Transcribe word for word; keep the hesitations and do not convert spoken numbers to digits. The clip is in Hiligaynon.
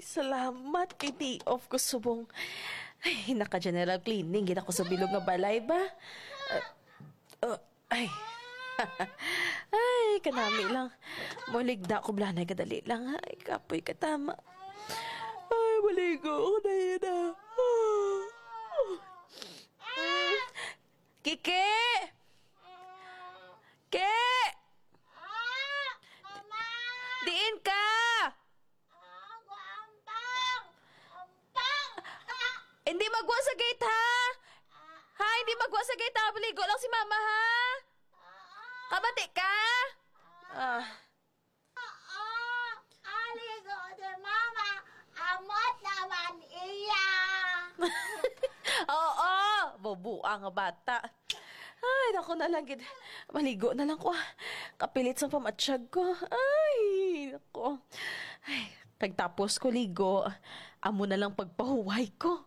Salamat kay day off ko subong. Ay, naka-general cleaning gid ako sa bilog nga balay ba? Ah, oh, ay. Ay, kanami lang. Muligda ko blanay kadali lang. Ay, kapoy katama. Ay, maligo ako na yun ah. Kiki! Ke! Ah, Mama! Diin ka? Ah, ampang! Ampang! Ah! Hindi magwa sa gate, ha? Ah! Ha? Hindi magwa sa gate, ha? Maligo lang si Mama, ha? Ah! Kabati ka? Ah. Ah! Ah, aligo si Mama. Amot naman iya. Oo, boboa nga bata. Ay, nako na lang gid. Maligo na lang ko, ah. Kapilit sang pamatsyag ko. Ay, nako. Ay, kag tapos ko ligo, amo na lang pagpahuway ko.